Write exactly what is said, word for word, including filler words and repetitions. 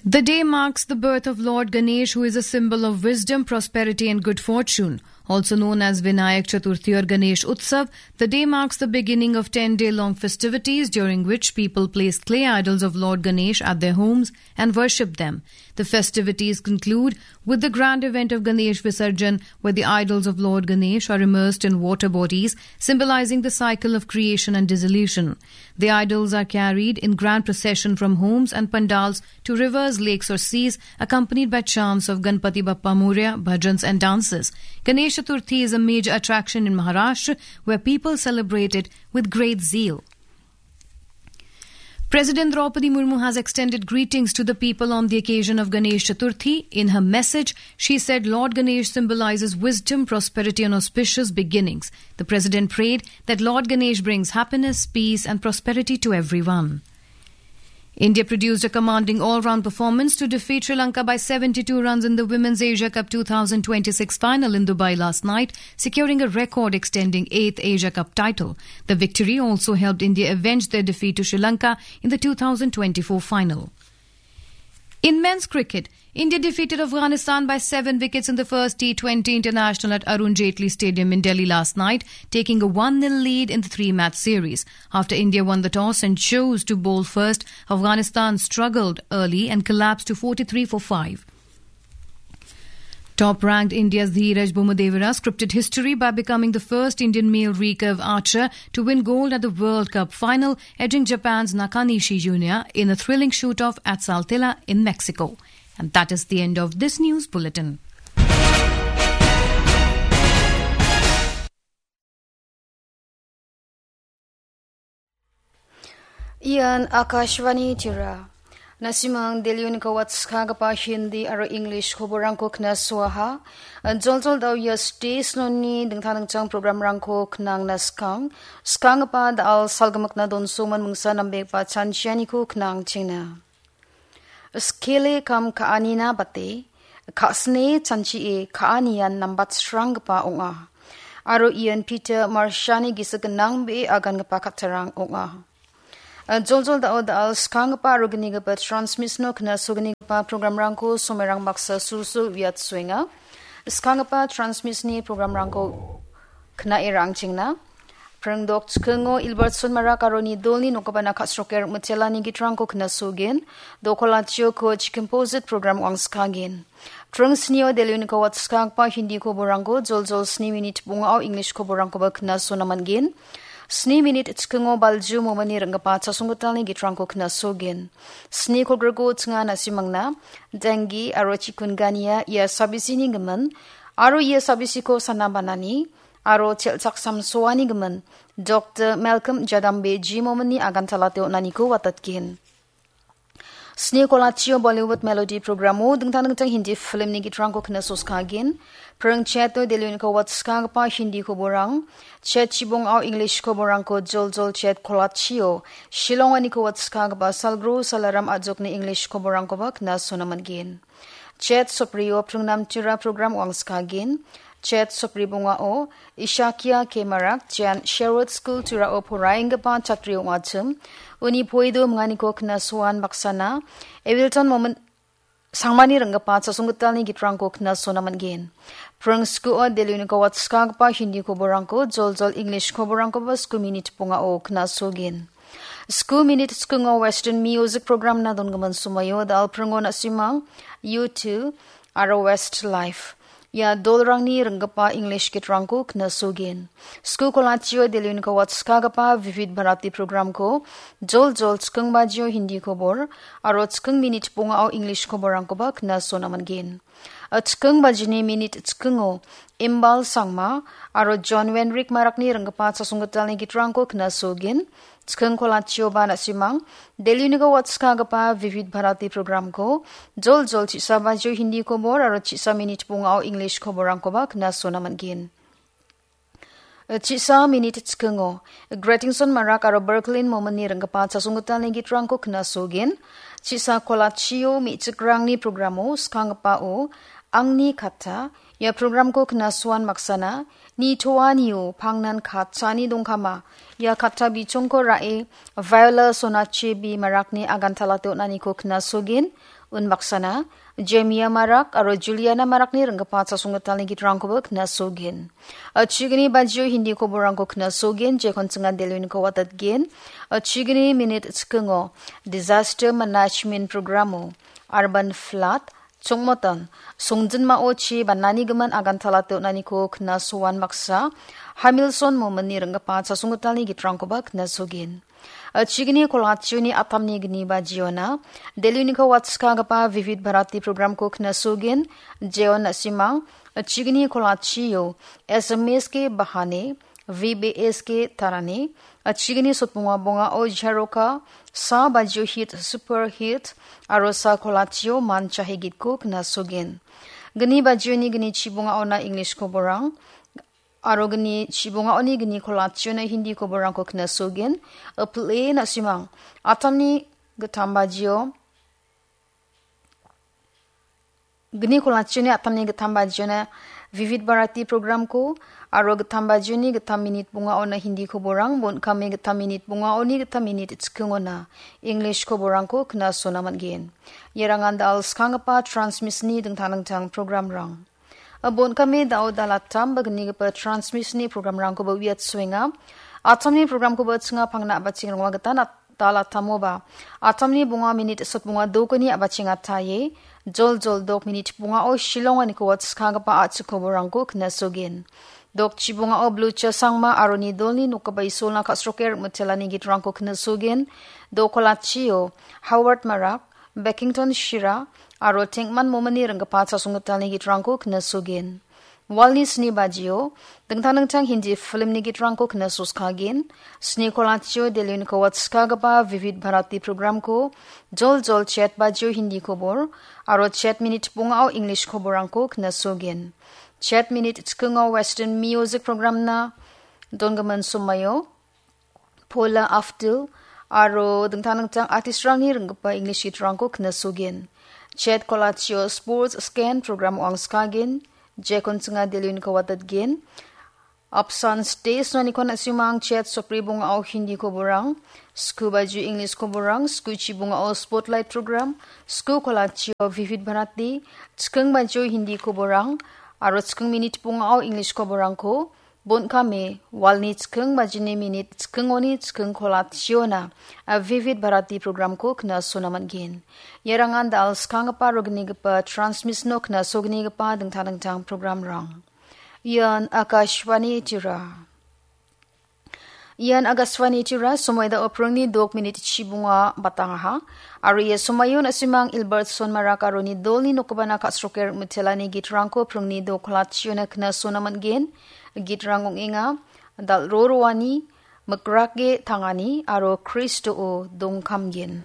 The day marks the birth of Lord Ganesh, who is a symbol of wisdom, prosperity, and good fortune. Also known as Vinayak Chaturthi or Ganesh Utsav, the day marks the beginning of ten-day-long festivities, during which people place clay idols of Lord Ganesh at their homes and worship them. The festivities conclude with the grand event of Ganesh Visarjan, where the idols of Lord Ganesh are immersed in water bodies, symbolizing the cycle of creation and dissolution. The idols are carried in grand procession from homes and pandals to rivers, lakes, or seas, accompanied by chants of Ganpati Bappa Moria, bhajans, and dances. Ganesh Chaturthi is a major attraction in Maharashtra, where people celebrate it with great zeal. President Draupadi Murmu has extended greetings to the people on the occasion of Ganesh Chaturthi. In her message, she said Lord Ganesh symbolizes wisdom, prosperity, and auspicious beginnings. The president prayed that Lord Ganesh brings happiness, peace, and prosperity to everyone. India produced a commanding all-round performance to defeat Sri Lanka by seventy-two runs in the Women's Asia Cup two thousand twenty-six final in Dubai last night, securing a record-extending eighth Asia Cup title. The victory also helped India avenge their defeat to Sri Lanka in the two thousand twenty-four final. In men's cricket, India defeated Afghanistan by seven wickets in the first T twenty international at Arun Jaitley Stadium in Delhi last night, taking a one nil lead in the three-match series. After India won the toss and chose to bowl first, Afghanistan struggled early and collapsed to forty-three for five. Top-ranked India's Dheeraj Bomadevara scripted history by becoming the first Indian male recurve archer to win gold at the World Cup final, edging Japan's Nakanishi Junior in a thrilling shoot-off at Saltillo in Mexico. And that is the end of this news bulletin. Ian Akashvani Tripura. Na·simang Delhi-oniko watskagipa Hindi aro English koborangko knasoaha. Joljol da·o ia stage-oni dingtang dingtang programrangko knangna skang. Skanggipa da·al salgimikna donsoman mingsa nambegipa chanchianiko knangchengna. Skele kam ka·anina bate, ka·sne chanchie ka·anian nambatsranggipa ong·a. Aro ian Peter Marshani gisik gnang be agangipa kattarang ong·a. Joljol da·o da·al skanggipa aro gnigipa transmission-o knasognigipa programrangko somerang baksa sulsul uiatsoenga. Skanggipa transmission-ni programrangko knae rangchengna. Pringdok chikingo Ilbarson Marak aro Nidolni nokgipana ka·sroker mitelani gitrangko knasogin. Dokolatio ko chikin posit program wangskagin. Pring snio Delhi-oniko watskagpa Hindi koborangko joljol sni minit bongao English koborangkoba knasona man·gen. Sni minit chikingo Balju Momani ring·gipa chasonggitalni gitrangko knasogin. Sni kolgriko chinga na·simangna, dengi aro chikungunya ia sabisini gimin, aro ia sabisiko sana banani, aro chelchaksamsoani gimin, Doktor Malcolm Jadambe Jimomani agantalate on·aniko watatgen. Sni kolachio Bollywood Melody programo dingtang dingtang Hindi filmni gitrangko knasoskagin. Pring cheto Delhi-oniko watskagipa Hindi koborang, chet chibongao English koborangko joljol chet kolachio, Shillong-oniko watskagipa Salgro Salaram Ajokni English koborangkoba knasona man·gen. Chet soprio pringnamtira program wangskagin. Chet sopri bongao Ishakia K Marak, Jan Sherwood School Turao poraenggipa chatri ong·achim. Uni poido minganiko knasoan baksana Evilton Momon Sangmani ring·gipa chasonggitalni gitrangko knasona man·gen. Pring skuo Delhi-oniko watskagipa Hindi koborangko joljol English koborangkoba sku minit bongao knasogin. Sku minit chikingo Western Music Program-na dongimin somoio da·al pringo na·simang U two aro Westlife. Ia dolrangni ring·gipa English gitrangko knasogin. Sku kolachio Delhi-oniko watskagipa Vivid Bharati program-ko joljol chiking bajio Hindi kobor aro chiking minit bongao English koborangkoba knasona man·gen. A chiking bajini minit chikingo Imbal Sangma aro John Wenrik Marakni ring·gipa chasonggitalni gitrangko knasogin. Chiking kolachioba na·simang Delhi-oniko watskagipa Vivid Bharati program-ko joljol chisa bajio Hindi kobor aro chisa minit bongao English koborangkoba knasona man·gen. Chisa minit chikingo Gretingson Marak aro Berklin Momani ring·gipa chasonggitalni gitrangko knasogin. Chisa kolachio me·chikrangni programo skanggipao Angni Katta, ia programko knasoan maksana Nitoanio pangnan katani dongkama, ia katta bichongko ra·e, Viola Sonachi B Marakni agantalate on·aniko knasogen, unbaksana, Jemia Marak aro Juliana Marakni ringgipa chasonggitalni gitrangkoba knasogen. Achigni bajio Hindi koborangko knasogen, jekon chingan Delwin Kawatatgen. Achigni minit chikingo, Disaster Management Programo, Urban Flood, Chongmotan, songjinmao chi banani gimin agantalate on·aniko knasoan baksa, Hamilson Mominni ringgipa chasonggitalni gitrangkoba knasogen. Achigni kolationi atamni gni bajiona, Delwin Kawatskagipa Vivid Bharati programko knasogen, Jeon Nasimang, achigni kolatio, S M S K Bahane, V B S K Tarane, achigni sotbonga bongao Jaroka, sa bajio hit, super hit, aro sa kolatio manchahe gitko knasogen. Gni bajioni gni chibongaona English koborang, aro gni chibongaoni gni kolationa Hindi koborangko knasogen. Apple Nasimang, atamni gittam bajio, Gni kolationi atamni gittam bajiona Vivid Bharati programko, aro gittam bajioni gittam minit bongaona Hindi koborang, bon kame gittam minit bongaoni gittam minit chikingona English koborangko knasona man·gen. Ierangan da·al skanggipa transmissionni dingtang dingtang programrang. Bon kame da·o da·al attam ba gnigipa transmissionni programrangkoba uiatsoenga. Atamni programkoba chinga pangna a·bacheng ronga gita nat-, da·al attamoba. Atamni bonga minit sotbonga dokoni a·bacheng ataie. Jol jol dok minit bongao Shillong-aniko watskagipa a·chik koborangko knasogen. Dok chibongao Blucha Sangma aro nidolni nokgipa Isolna ka·sroke rikmitelani gitrangko knasogen. Dok kolatio Howard Marak, Beckington Shira, aro Tengman Momini ringgipa chasonggitalni gitrangko knasogen. Walni sni bajio, dingtang dingtang Hindi filmni gitrangko knasoskagen. Sni kolatio Delwin Kawatskagipa Vivid Bharati programko, jol jol chet bajio Hindi kobor, aro chet minit bongao English koborangko knasogen. Chet minit chikingo Western Music programna donggimin somaio, Paula Abdul, aro dingtang dingtang artistrangni ringgipa English gitrangko knasogen. Chet kolatio Sports Scan program wangskagen, jekon chinga Delwin Kawatatgen. Apsan Stage noniko na·simang chet sopri bongao Hindi koborang, sku baju English koborang, sku chibongao Spotlight program, sku kolatio Vivid Bharati, chiking baju Hindi koborang, aro chiking minit bongao English koborangko, bon kame, walni chiking bajini minit chikingoni chiking kolationa, a Vivid Bharati programko knasona man·gen. Ierangan da·al skanggipa aro gnigipa transmissionno knasognigipa dingtang dingtang programrang. Ian Akashvani Tira. Ian Akashvani Tira, somoi da·o pringni dok minit chibonga batangaha. Aro ia somaio na·simang Ilbertson Marak aro nidolni nokgipana ka·sroke rikmitelani gitrangko pringni dok kolationa knasona man·gen. Gitrang ong·enga, Dal·ro roani, Mikrake tangani, aro Kristoa dongkamgen.